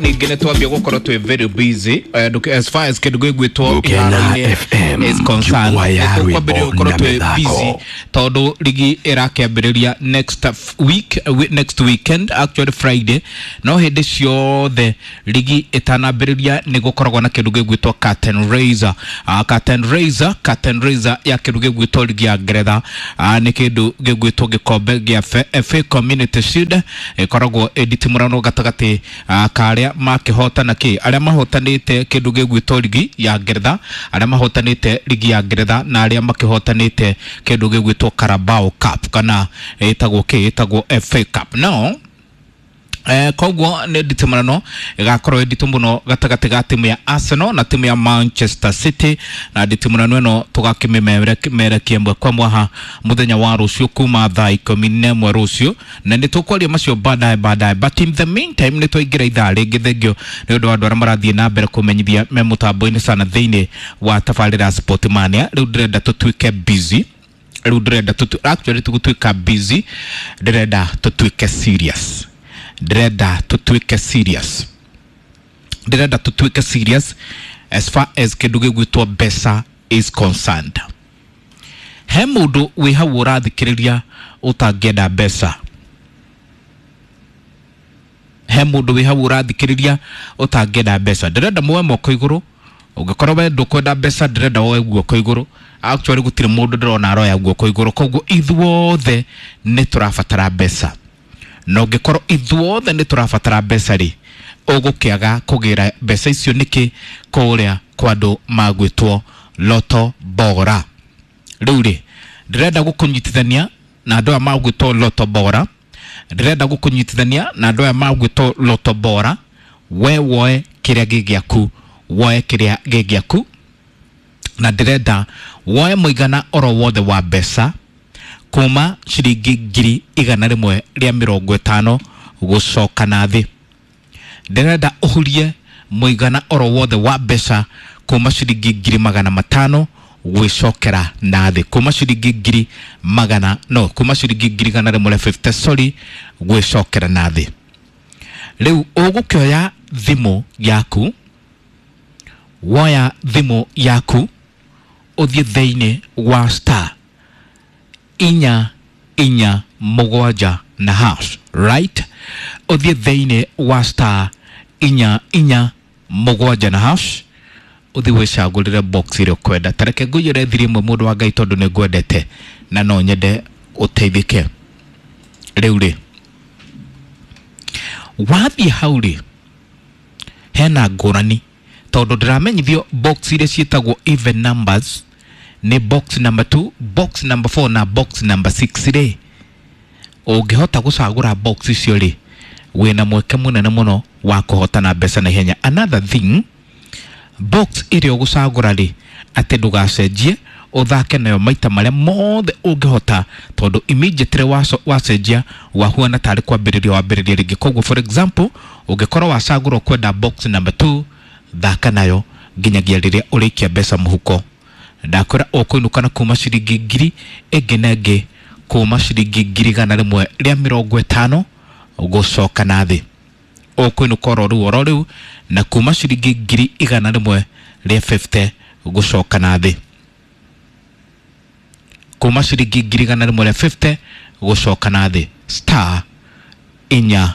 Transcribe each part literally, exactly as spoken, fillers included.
Ningĩ nĩ twambia gũkorwo twĩ very busy eh, ndũke- as far as kĩndũ gĩgwĩtwo Gũkena iharo-inĩ F M, is concerned. jukwaa ya Nĩ tũkwambĩrĩria rwĩmbo gũkorwo na twĩ mĩthako. busy tondũ ligi ĩrakĩambĩrĩria next f- week, eh, wi- next weekend, actually Friday. No hĩndĩ ciothe ligi ĩtanambĩrĩria nĩ gũkoragwo na kĩndũ gĩgwĩtwo curtain raiser. uh, curtain raiser curtain raiser ya kĩndũ gĩgwĩtwo ligi ya Ngeretha uh, nĩ kĩndũ gĩgwĩtwo gĩkombe gĩa F A Community Shield, ĩkoragwo ĩnditimũrano gatagatĩ uh, ka arĩa makĩhotana kĩ arĩa mahotanĩte kĩndũ gĩgwĩtwo ligi ya Ngeretha, arĩa mahotanĩte ligi ya Ngeretha na arĩa makĩhotanĩte kĩndũ gĩgwĩtwo Carabao Cup kana ĩtagwo kĩ ĩtagwo F A Cup. No Eh, koguo nĩ nditimũrano ĩgakorwo ĩ nditũ mũno gatagatĩ ga timu ya Arsenal na timu ya Manchester City, na nditimũrano ĩno tũgakĩmĩmerekia ĩmwe kwa mwaha mũthenya wa rũciũ kuma thaa ikũmi na ĩmwe rũciũ, na nĩ tũkwaria macio baadaye baadaye, but in the meantime nĩ twaingĩra ithaa rĩngĩ. Thengio nĩ ũndũ wa andũ arĩa marathiĩ na mbere kũmenyithia me mũtambo-inĩ sana thĩinĩ wa tabarĩra ya Sportmania. Rĩu ndĩrenda tũtuĩke busy, rĩu ndĩrenda tũtu actually tũgũtuĩka busy, ndĩrenda tũtuĩke serious, ndĩrenda tũtuĩke serious, ndĩrenda tũtuĩke serious as far as kĩndũ gĩgwĩtwo mbeca is concerned. He mũndũ wĩ hau ũrathikĩrĩria ũtangĩenda mbeca? He mũndũ wĩ hau ũrathikĩrĩria ũtangĩenda mbeca? Ndĩrenda muoe moko igũrũ. Ũngĩkorwo we ndũkwenda mbeca, ndĩrenda woe guoko igũrũ. Actually gũtirĩ mũndũ ndĩrona aroya guoko igũrũ, koguo ithuothe nĩ tũrabatara mbeca. Na ũngĩkorwo ithuothe nĩ tũrabatara mbeca rĩ, ũgũkĩaga kũgĩra mbeca icio nĩkĩ kũrĩa kwa andũ magwĩtwo Lotto Bora? Rĩu rĩ, ndĩrenda gũkũnyitithania na andũ aya magwĩtwo Lotto Bora, ndĩrenda gũkũnyitithania na andũ aya magwĩtwo Lotto Bora. We woe kĩrĩa gĩ gĩaku, woe kĩrĩa gĩ gĩaku, na ndĩrenda woe mũigana oro wothe wa mbeca kuma ciringi ngiri igana rĩmwe rĩa mĩrongo ĩtano gũcoka na thĩ. Ndĩrenda ũhurie mũigana oro wothe wa mbeca kuma ciringi ngiri magana matano gwĩcokera na thĩ, kuma ciringi ngiri magana no kuma ciringi ngiri igana rĩmwe rĩa fifty, sorry, gwĩcokera na thĩ. Rĩu ũgũkĩoya thimũ yaku, woya thimũ yaku ũthiĩ thĩinĩ wa star inya inya mũgwanja na hash, right? Ũthiĩ thĩinĩ wa star inya inya mũgwanja na hash, ũthiĩ wĩcagũrĩre box ĩrĩa ũkwenda. Ta reke ngũiyũre thiri ĩmwe, mũndũ wa Ngai, tondũ nĩ ngwendete na no nyende ũteithĩke. Rĩu rĩ, wathiĩ hau rĩ, hena ngũrani tondũ ndĩramenyithio box iria ciĩtagwo even numbers nĩ box number two, box number four na box number six rĩ, ũngĩhota gũcagũra box icio rĩ, wĩna mweke mũnene mũno wa kũhotana mbeca na ihenya. Another thing, box ĩrĩa ũgũcagũra rĩ, atĩ ndũgacenjie, ũthake nayo maita marĩa mothe ũngĩhota, tondũ immediately waco-, wacenjia wahuana tarĩ kwambĩrĩria wambĩrĩria rĩngĩ. Koguo for example, ũngĩkorwo wacagũra ũkwenda box number two, thaka nayo nginyagia rĩrĩa ũrĩikia mbeca mũhuko. Ndakwĩra ũkũinũka na kuma ciringi ngiri ĩngĩ na ĩngĩ, kuma ciringi ngiri igana rĩmwe rĩa mĩrongo ĩtano gũcoka na thĩ. Ũkũinũka oro rĩu oro rĩu na kuma ciringi ngiri igana rĩmwe rĩa fifty gũcoka na thĩ, kuma ciringi ngiri igana rĩmwe rĩa fifty gũcoka na thĩ. Star inya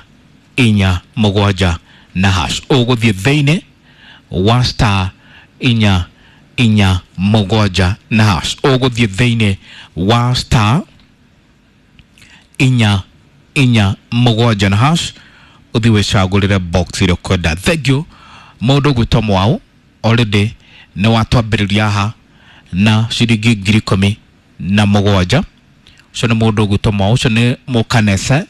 inya mũgwanja na hash, ũgũthiĩ thĩinĩ wa star inya inya mũgwanja na hash, ũgũthiĩ thĩinĩ wa star inya inya mũgwanja na hash, ũthiĩ wĩcagũrĩre box ĩrĩa ũkwenda. Thank you mũndũ ũgwĩtwo Mwau, already nĩ watwambĩrĩria haha na ciringi ngiri ikũmi na mũgwanja. Ũcio nĩ mũndũ ũgwĩtwo Mwau, ũcio nĩ mũkanese.